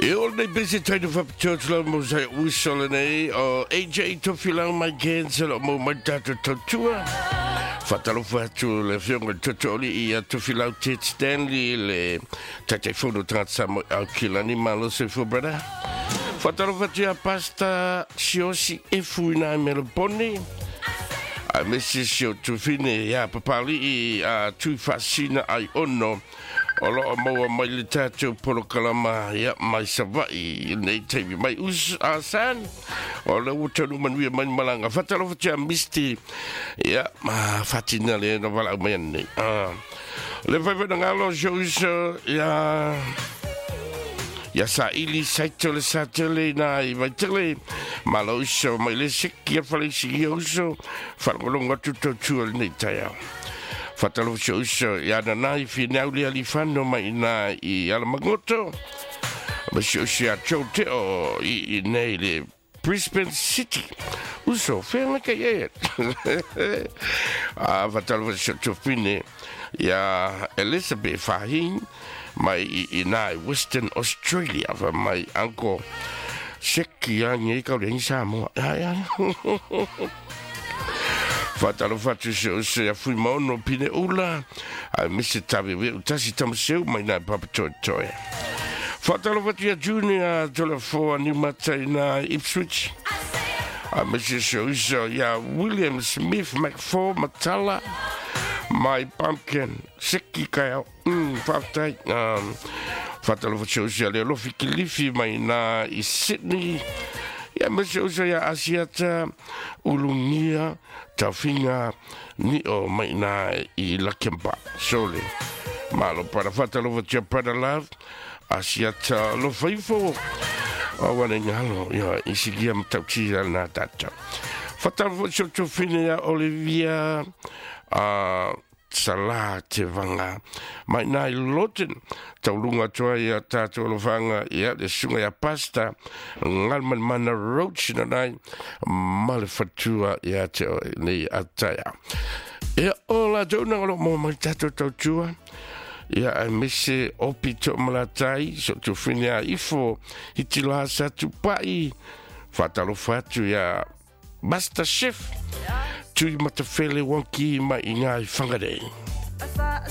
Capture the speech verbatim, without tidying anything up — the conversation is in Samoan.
E o nei pese taino whapitoa lau mo sai uso le nei o A J Tofilau mai Cancel o mo mai tātou tautua. Whatalofa atu le whionga totoli i a Tofilau Ted Stanley le taitaifono tagata Samoa au kilani malo soifua brother. Whatalofa atu ia Pasta Siosi Efu ina Melbourne. A mese si o tufine ia papali i a tuifasina ai ono. O loo maua mai le tātou polokalama ia mai Savai nei taimi mai us a san. O le ua tonu manuia mai malanga. Whatalofa tia Misty ia ma fatina le na wala mai nei. Ah. Le whaiwhai na ngalo si uso ia ia sa ili saito le sa tele na i vai tele. Malo uso mai le seki a whale si ia uso. Whalangolongo atu tautua le nei taiao. Whatalofa uso ia nanai whinau le alifano mai nā i Alamagoto. Ma si uso ia tau teo i, i nei le Brisbane City. Uso, whenga kai e. A whatalofa uso tofine ia Elizabeth Fahin mai i, i nā Western Australia. Wa mai anko seki a ngei kau le Samoa. Ya, ya. Whatalofa atu se o se a fui maono pine ula. A mise tawe we utasi tamaseu mai nā papatoetoe. Whatalofa atu ia Junior Tolafoa ni matai nā Ipswich. A mise se o iso ia William Smith McFall Matala. Mai Pumpkin Seki kai au. Mm, whaftai. Um, Whatalofa atu se o iso ia Leolofi Kilifi mai nā i Sydney. Ia mese uso ia Asiata Ulungia Taufinga ni o mai nā i Lakemba. Sole. Malo para whatalofa tia Brother Love. Asiata Lofaifo. O wane ngalo ia isigia matautia nā tātou. Whatalofa tia tofine ia Olivia uh, Salah te vanga. Mai nā i Loten. Taulunga toa ia tātou alofanga ia le sunga ia pasta ngalman mana roach na nai male fatua ia te o nei ataia. Ia o la tau nanga lo mo mai tātou tautua. Ia ai mese opi to malatai so tu whine a ifo hitila sa tupai. Whatalofa atu ia Master Chef. Tui matawhele wanki mai i ngā i Whangarei.